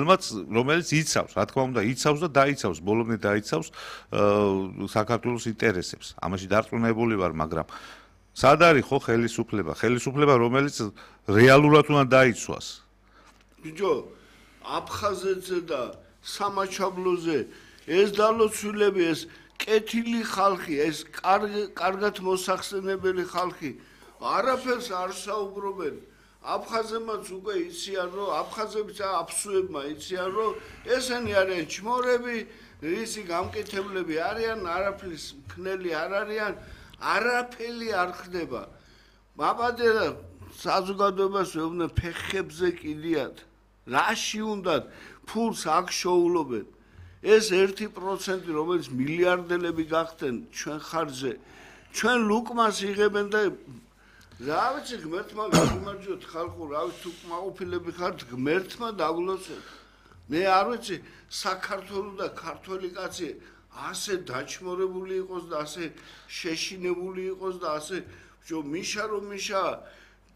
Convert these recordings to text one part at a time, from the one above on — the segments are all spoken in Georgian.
რომელიც იცავს, რა თქმა უნდა, იცავს და დაიცავს, ბოლომდე დაიცავს საქართველოს ინტერესებს. ამაში დარწმუნებული ვარ, მაგრამ სად არის ხო ხელისუფლება? ხელისუფლება, რომელიც რეალურად უნდა დაიცვას. ბიჭო, აფხაზეთზე და სამაჩაბლოზე ეს დალოცვილები, ეს კეთილი ხალხი, ეს კარგად მოსახსენებელი ხალხი არაფერს არ საუბრობენ. აფხაზებმაც უკვე იციან, რომ აფხაზებიც აფსუებმა იციან, რომ ესენი არიან ჩმორები, ისი გამკეთებლები არიან, არაფრის მქნელი არ არიან, არაფერი არ ხდება. მაბადერა საზოგადოებას ვეუბნებ, ფეხებზე კიდიათ. რაში უნდათ ფულს აქ შოულობენ. ეს 1%, რომელიც მილიარდელები გახდნენ ჩვენ ხარჯზე, ჩვენ ლუკმას იღებენ და რა ვიცი, ღმერთმა გამარჯვოთ ხალხო, რა ვიცი, თუ კმაყოფილები ხართ, ღმერთმა დაგლოცოთ. მე არ ვიცი, საქართველოს და ქართველი კაცი ასე დაჩმორებული იყოს და ასე შეშინებული იყოს და ასე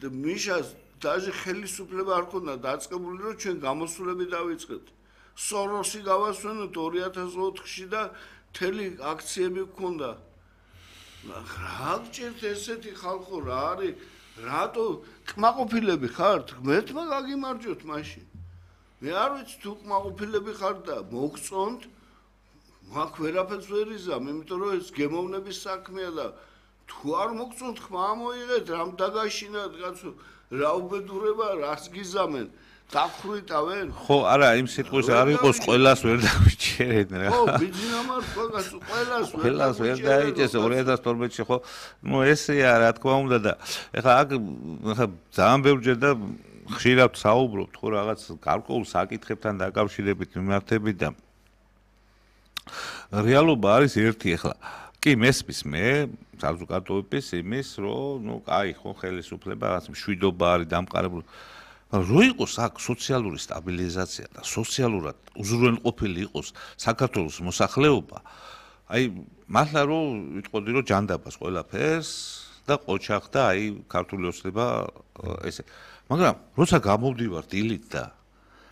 მიშას დაჟე ხელისუფლება არ ქონდა დაწყებული, რომ ჩვენ გამოსვლები დავიწყეთ. სოროსი გავასვენოთ 2004-ში და მთელი აქციები გქონდა. რა გჭირთ ესეთი ხალხო, რა არის? რატო კმაყოფილები ხართ? ღმერთმა გაგიმარჯვოთ მაშინ. მე არ ვიცი, თუ კმაყოფილები ხართ და მოგწონთ, მაგ ვერაფერს ვერ იზამ, იმიტომ რომ ეს გემოვნების საქმეა და თუ არ მოგწონთ, ხმა მოიღეთ, რამ დაგაშინათ, კაცო, რა უბედურება, რას გიზამენ? დაგხრიტავენ? ხო, არა, იმ სიტყვის არ იყოს, ყველას ვერ დავიჭერენ რა. ხო, ბიძინა მართლა, კაცო, ყველას ვერ დაიჭერს 2012-ში, ხო. ნუ ესეა, რა თქმა უნდა და ეხლა აქ ძალიან ბევრჯერ და ხშირად საუბრობთ ხო რაღაც გარკვეულ საკითხებთან დაკავშირებით მიმართებით და რეალობა არის ერთი ეხლა. კი, მესმის მე საზოგადოების იმის, რომ ნუ კაი ხო ხელისუფლება რაღაც მშვიდობა არის დამყარებული. რო იყოს აქ სოციალური სტაბილიზაცია და სოციალურად უზრუნველყოფილი იყოს საქართველოს მოსახლეობა, აი მართლა რომ ვიტყოდი რომ ჯანდაბას ყველაფერს და ყოჩახ და აი ქართული ოცნება ესე. მაგრამ როცა გამოვდივარ დილით და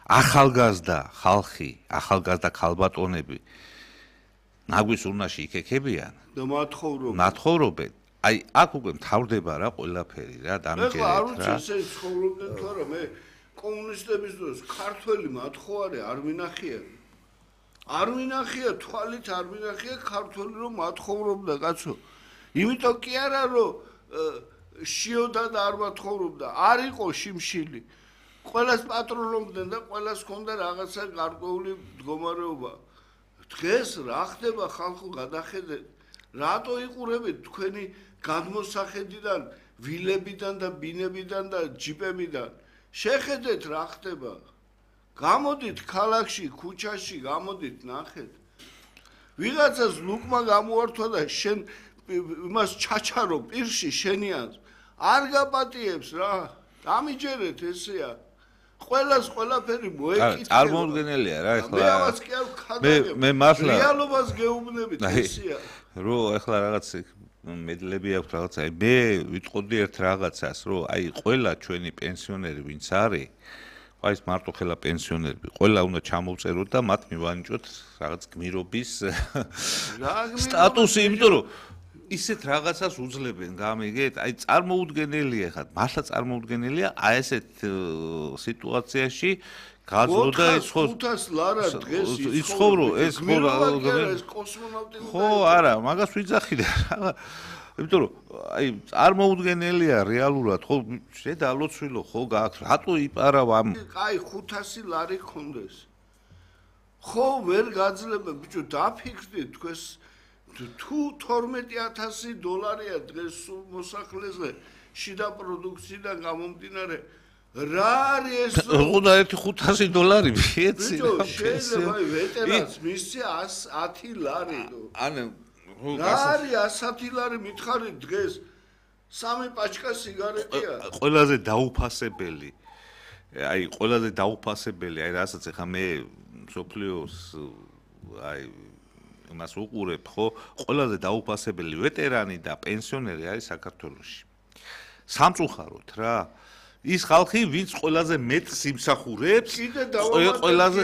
ახალგაზრდა ხალხი, ახალგაზრდა ქალბატონები ნაგვის ურნაში იქექებიან და მათხოვრობენ. აი აქ უკვე მთავრდება რა ყველაფერი რა დამიჯერეთ რა. არ ვიცი ესე ცხოვრობდნენ თუ არა, მე კომუნისტების დროს ქართველი მათხოვარი არ მინახია. არ მინახია, თვალით არ მინახია ქართველი რომ მათხოვრობდა, კაცო. იმიტომ კი არა რომ შიოდა და არ მათხოვრობდა, არ იყო შიმშილი. ყველას პატრონობდნენ და ყველას ჰქონდა რაღაცა გარკვეული მდგომარეობა. დღეს რა ხდება ხალხო, გადახედეთ. რატო იყურებით თქვენი გადმოსახედიდან, ვილებიდან და ბინებიდან და ჯიპებიდან? შეხედეთ რა ხდება. გამოდით ქალაქში, ქუჩაში, გამოდით ნახეთ. ვიღაცას ლუკმა გამოართვა და შენ იმას ჩაჩარო პირში შენიანს. არ გაპატიებს რა. დამიჯერეთ ესეა. ყველას ყველაფერი მოეკითხება. წარმოუდგენელია რა ეხლა. მე ამას კი არ ვქადაგებ. მე მართლა რეალობას გეუბნებით ესეა. რო ეხლა რაღაც მედლები აქვს რაღაცა. მე ვიტყოდი ერთ რაღაცას, რომ აი ყველა ჩვენი პენსიონერი ვინც არის, აი ეს მარტო ხელა პენსიონერები, ყველა უნდა ჩამოვწეროთ და მათ მივანიჭოთ რაღაც გმირობის სტატუსი, იმიტომ რომ ისეთ რაღაცას უძლებენ, გამიგეთ? აი წარმოუდგენელია ხა, მართლა წარმოუდგენელია აი ესეთ სიტუაციაში გაძლოდა ის ხო 500 ლარა დღეს იცხოვრო ეს ხო ეს კოსმონავტი ხო არა მაგას ვიძახი და რა იმიტომ რომ აი წარმოუდგენელია რეალურად ხო შედალოცვილო ხო გააქვს რატო იპარავ ამ აი 500 ლარი გქონდეს ხო ვერ გაძლება ბიჭო დაფიქრდით თქვენს თუ 12000 დოლარია დღეს მოსახლეზე შიდა პროდუქციიდან გამომდინარე რა არის ეს უნდა ერთი 500 დოლარი მიეცი ბიჭო შეიძლება ვეტერანს მისცე 110 ლარი ანუ რა არის 110 ლარი მითხარი დღეს სამი პაჩკა სიგარეტია ყველაზე დაუფასებელი აი ყველაზე დაუფასებელი აი რასაც ახლა მე სოფლიოს აი მას უყურებ ხო ყველაზე დაუფასებელი ვეტერანი და პენსიონერი არის საქართველოში სამწუხაროდ რა ის ხალხი ვინც ყველაზე მეტ სიმსახურებს ყველაზე